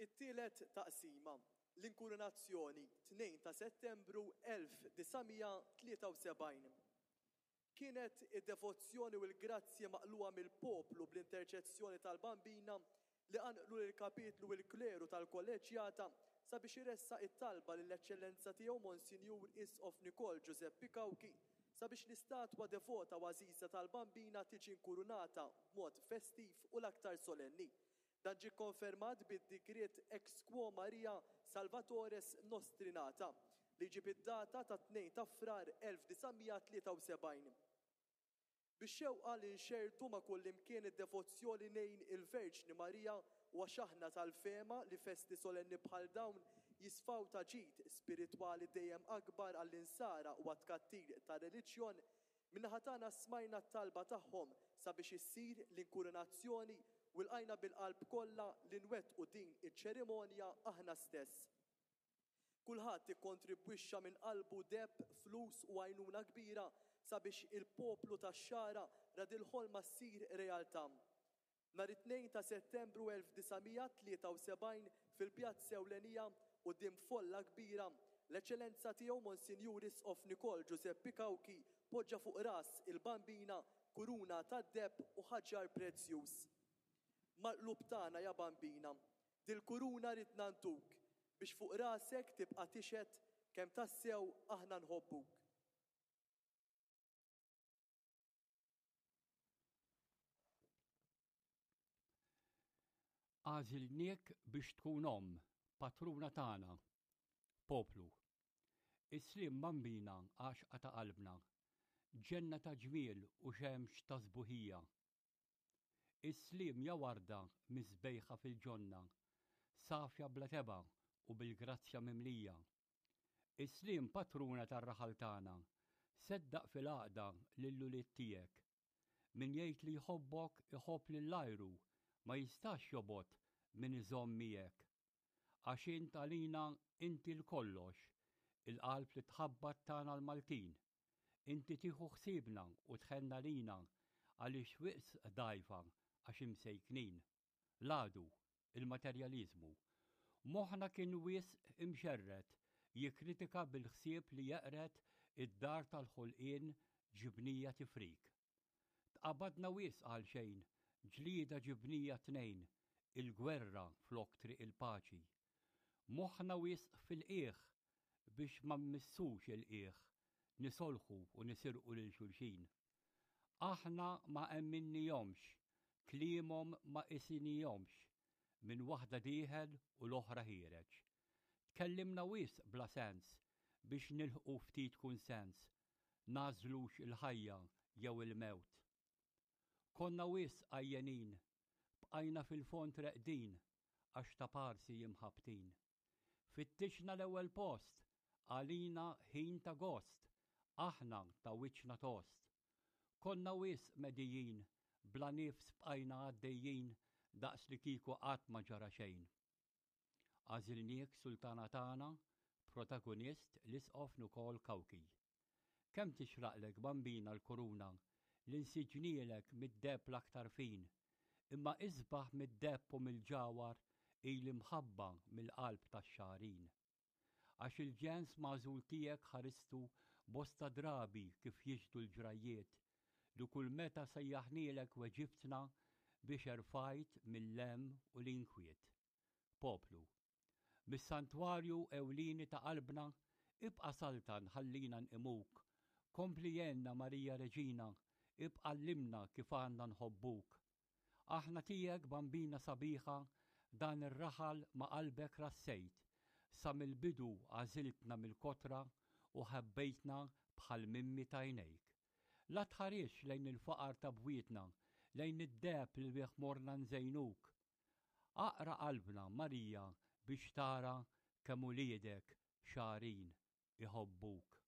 It-tielet taqsima, L-Inkurunazzjoni, 2 ta' Settembru 1973. Kienet id-devozzjoni u l-grazzji maqlugħa mill-poplu bl-interċezzjoni tal-Bambina li qanqlu lill-Kapitlu u l-Kleru tal-Kolleġġjata sabiex iressaq it-talba lill-Eċċellenza Tiegħu Monsinjur Isqof Nikol Ġużeppi Cauchi sabiex l-istatwa devota u għażiża tal-Bambina tiġi nkurunata b'mod festiv u l-aktar solenni. Dan ġie kkonfermat bid-digriet Ex quo Maria Salvatores Nostri Nata, li jġib id-data tat-2 ta' Frar 1973. Bix-xewqa li nxerrdu ma' kullimkien id-devozzjoni nejn il-Verġni Marija u għax aħna tal-fehma li festi solenni bħal dawn jisfaw ta' ġid spiritwali dejjem akbar għall-Insara u għat-tkattir tar-reliġjon, min-naħa tagħna smajna t-talba tagħhom sabiex issir l-inkurunazzjoni u lqajna bil-qalb kollha li nwettqu din iċ-ċerimonja aħna stess. Kulħadd ikkontribwixxa minn qalbu deheb, flus u għajnuna kbira sabiex il-poplu tax-Xagħra ra dil-ħolma ssir realtà. Nhar it-Tnejn ta' Settembru 1973 fil-pjazza ewlenija quddiem folla kbira, l-Eċċellenza Tiegħu Monsinjur Isqof Nikol Ġużeppi Cauchi poġġa fuq ras il-Bambina kuruna tad-deheb u ħaġar prezzjuż. Mal-qlub tagħna ja Bambina, Dil-kuruna ridna ntuk biex fuq rasek tibqa' tixhed kemm tassew aħna nħobbuk. Għażilniek biex tkun omm, patruna tagħna, poplu. Is-sliem Bambina għaxqa ta' qalbna, ġenna ta' ġmiel u xemx ta' sbuħija. Is-sliem ja warda misbejħa fil-ġonna, safja bla tebgħa u bil-grazzja mimlija. Is-sliem patruna tar-raħal tagħna, seddaq fil-għaqda lill-ulied tiegħek. Min jgħid li jħobbok iħobb lil għajru, ma jistax jobgħod min iżomm miegħek. Għax int għalina inti l-kollox, il-qalb li tħabbat tagħna l-Maltin. Inti tieħu ħsiebna u tħenn għalina għaliex wisq dgħajfa għax imsejknin. L-għadu, il-materjaliżmu. Moħħna kien wisq imxerred jikkritika bil-ħsieb li jeqred id-dar tal-ħolqien ġibnija tifrik. Tqabadna wisq għal xejn, ġlieda ġibnija tnejn, il-gwerra flok triq il-paċi. Moħħna wisq fil-qiegħ biex ma mmissux il-qiegħ, nisolħu u nisirqu lil xulxin. Aħna ma emminnihomx, kliemhom ma qisinihomx, minn waħda dieħel u l-oħra ħiereġ. Tkellimna wisq bla sens biex nilħqu ftit kunsens, nagħżlux il-ħajja jew il-mewt. Konna wisq għajjenin, bqajna fil-fond reqdin għax taparsi imħabbtin. Fittixna l-ewwel post, għalina ħin ta' gost, aħna ta' wiċċna tost. Konna wisq medijin, bla nifs bqajna għaddejjin daqs li kieku qatt ma ġara xejn. Għażilniek sultana tagħna, protagonist l-Isqof Nukol Cauchi. Kemm tixraqlek Bambina l-kuruna li nsiġnielek mid-deheb l-aktar fin, imma isbaħ mid-deheb u mill-ġawhar hi l-imħabba mill-qalb tax-xagħrin. Għax il-ġens magħżul tiegħek ħaristu bosta drabi kif jixhdu l-ġrajjiet, li kull meta sejjaħnielek weġibtna biex erfajt mill-hemm u l-inkwiet. Poplu. Mis-santwarju ewlieni ta' qalbna, ibqa' saltan ħallina nqimuk. Kompli għenna Marija Reġina, ibqa' għallimna kif għandna nħobbuk. Aħna tiegħek Bambina sabiħa, dan ir-raħal ma' qalbek rassejt. Sa mill-bidu għażiltna mill-kotra u ħabbejtna bħal mimmi t'għajnejk. La tħarisx lejn il-faqar ta' bwietna, lejn id-deheb li bih morna nżejnuk. Aqra qalbna, Marija, biex tara kemm uliedek xagħrin iħobbuk.